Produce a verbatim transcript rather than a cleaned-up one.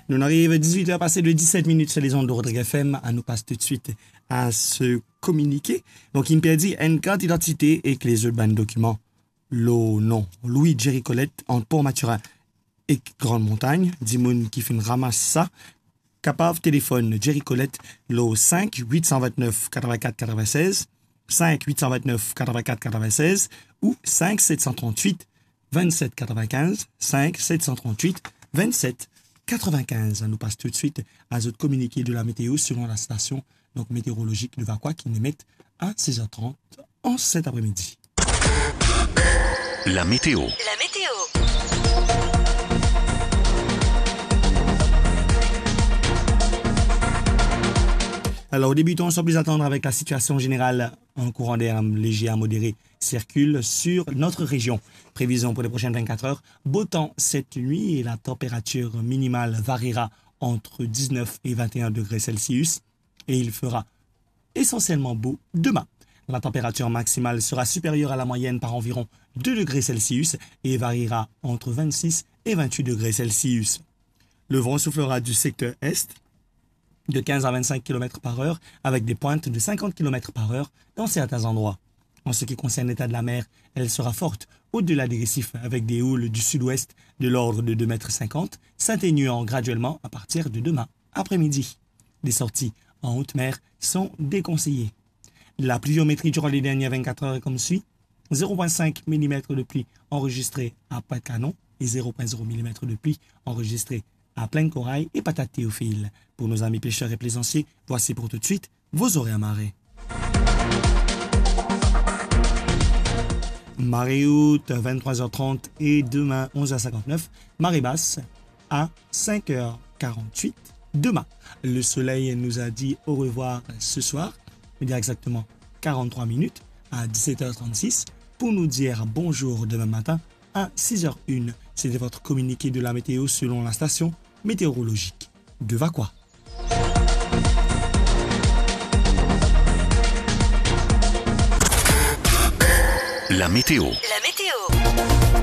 Nou ariv dizwit er pase de diset minit sur les ondes de Rodrigues F M. Anou pas toutswit a se kominike. Donk, inn perdi enn kart idantite ek lezot bann dokiman lor nom Louis Jerry Colette ant Port Mathurin ek Grande Montagne. Dimoun ki finn ramas sa, kapav telefonn Jerry Colette lor cinq huit cent vingt-neuf quatre-vingt-quatre quatre-vingt-seize, cinq huit cent vingt-neuf quatre-vingt-quatre quatre-vingt-seize ou cinq sept cent trente-huit vingt-sept quatre-vingt-quinze, cinq sept cent trente-huit vingt-sept quatre-vingt-quinze. Anou pas toutswit a zot kominike de la météo selon la station, donk, météorologique de Vacoas, ki inn emet a six heures trente an set apremidi. La météo. La météo. Alors, débutons sans plus attendre avec la situation générale. Un courant d'air léger à modéré circule sur notre région. Prévision pour les prochaines vingt-quatre heures, beau temps cette nuit et la température minimale variera entre dix-neuf et vingt et un degrés Celsius et il fera essentiellement beau demain. La température maximale sera supérieure à la moyenne par environ deux degrés Celsius et variera entre vingt-six et vingt-huit degrés Celsius. Le vent soufflera du secteur est de quinze à vingt-cinq kilomètres par heure avec des pointes de cinquante kilomètres par heure dans certains endroits. En ce qui concerne l'état de la mer, elle sera forte au-delà des récifs avec des houles du sud-ouest de l'ordre de deux mètres cinquante, s'atténuant graduellement à partir de demain après-midi. Des sorties en haute mer sont déconseillées. La pluviométrie durant les dernières vingt-quatre heures est comme suit : zéro point cinq millimètres de pluie enregistrée à Pointe-Canon et zéro point zéro millimètres de pluie enregistrée à Plaine Corail et Patate Théophile. Pour nos amis pêcheurs et plaisanciers, voici pour tout de suite vos horaires marée. Marée haute, vingt-trois heures trente et demain, onze heures cinquante-neuf. Marée basse, à cinq heures quarante-huit demain. Le soleil nous a dit au revoir ce soir, il y a exactement quarante-trois minutes, à dix-sept heures trente-six, pour nous dire bonjour demain matin à six heures une. C'était votre communiqué de la météo selon la station météorologique de Vacoas. La météo. La météo.